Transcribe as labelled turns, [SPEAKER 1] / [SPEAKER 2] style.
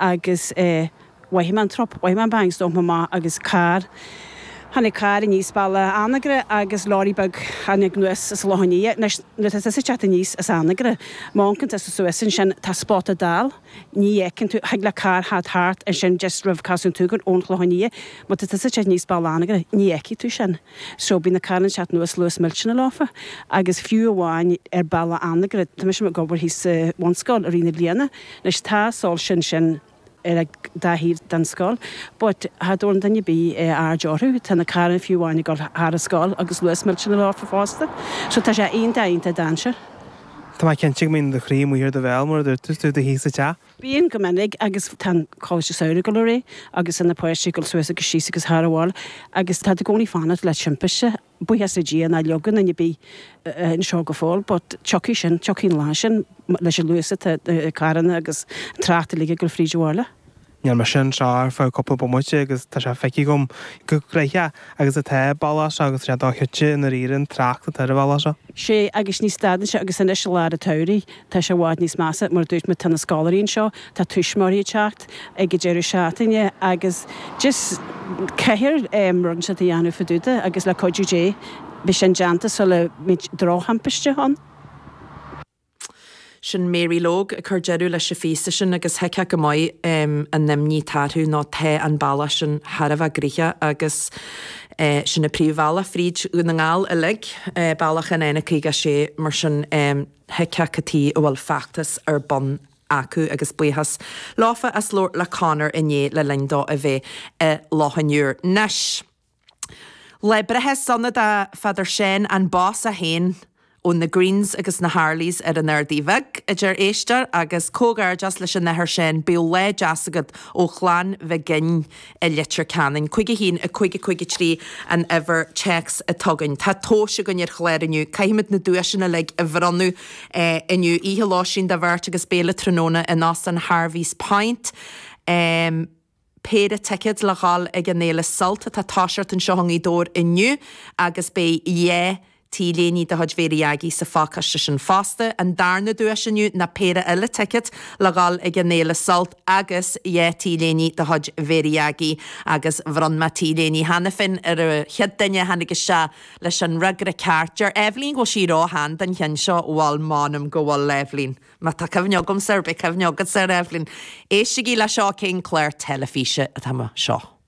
[SPEAKER 1] Agus mhothaigh mé an trup, mhothaigh mé an bang, 's d'amharc mé amach agus carr, tháinig carr aníos bealach Anagaire agus lorry beag tháinig anuas as Loch an Iar. Anois, nuair atá tusa ag teacht aníos as Anagaire, má amharcann tusa suas ansin, tá spota dall, ní fheiceann tú, thig le carr theacht thart ansin just roimh Casadh an tSúgáin ón Chlochán Liath, má tá tusa ag teacht aníos bealach Anagaire, ní fheicfidh tú sin. So bíonn na carranna ag teacht anuas luas millteanach leofa agus fiú amháin ar bealach Anagaire, tá mise ag obair thíos sa bhunscoil i rith na bliana, Anois tá soilse ansin ar an dá thaobh den scoil but cha dtabharann duine ar bith aird orthu. Tá na carranna fiú amháin ag dul thar an scoil agus luas millteanach leofa fosta. So tá sé iontach iontach dainséarach.
[SPEAKER 2] Tá mé cinnte go mbíonn do chroí amuigh ar do bhéal mar a dúirt tú, tú thíos sa teach.
[SPEAKER 1] Bíonn go minic agus tá an Coláiste Samhraidh ag dul ar aghaidh agus tá na páistí ag dul suas agus síos agus thar an bhaile agus tá tú i gcónaí ag fanacht le timpiste. Buíochas le Dia nár leagadh duine ar bith anseo go fóill but tiocfaidh sin, tiocfaidh an lá sin leis an luas atá na carranna agus an trácht uilig ag dul fríd an bhaile.
[SPEAKER 2] Níl mise anseo ar feadh cúpla bomaite agus tá sé feicthe agam chomh gnoitheach agus atá an bealach seo agus tá sé dochreidte i ndáiríre an trácht atá ar an bhealach seo.
[SPEAKER 1] Sé agus ní stadann sé agus anois i lár an tsamhraidh tá sé i bhfad níos measa mar a dúirt mé tá na scoláirí anseo, tá tuismitheoirí ag teacht ag an deireadh seachtaine agus just caithfear rud inteacht a dhéanamh fá dtaobh de agus le cuidiú Dé beidh sin déanta sula mbeidh drochthimpiste ann.
[SPEAKER 3] Sin Mary Logue ag cur deireadh leis an phíosa sin agus thuigfeá go maith an imní atá orthu nó tá an bealach sin thar a bheith gnoitheach agus sin an príomhbhealach fríd Dhún na nGall uilig, bealach an N56 mar sin thuigfeá cad chuige a bhfuil feachtas ar bun acu agus buíochas leofa as labhairt le Conor inné le linn dó a bheith i Loch an Iúir. Anois, lá breithe sona do Pheadar Seán, an boss é féin ó na Greens agus na Harleys ar an Ardaidh Bheag, a deir éisteoir, agus comhghairdeas leis an Athair Seán, bíodh lá deas agat ó chlann Mhig Fhinn i Leitir Ceanainn. 5 1 5 5 3 an uimhir téacs atá againn. Tá tomhais againn ar chlár inniu. Caithfimid na duaiseanna uilig a bhronnadh inniu. Oíche lóistín do bheirt agus béile tráthnóna in Óstán Harvey's Point. Péire ticéad le dhul ag an fhéile Sult atá ag toiseacht anseo i nGaoth Dobhair inniu agus beidh 2 T-léine de chuid Mhéirí Aggie sa phacáiste sin fosta. An darna duais inniu ná péire eile ticéad le dhul ag an fhéile Sult agus 2 T-léine de chuid Mhéirí Aggie agus bhronn mé T-léine cheana féin ar an chéad duine a tháinig isteach leis an fhreagra ceart. Deir Eibhlín go bhfuil sí ró-shean don cheann seo. Bhuel, m'anam go bhfuil, Eibhlín. Má tá cuimhne agamsa air, beidh cuimhne agatsa air, Eibhlín. Éistigí le seo, cén clár teilifíse atá seo?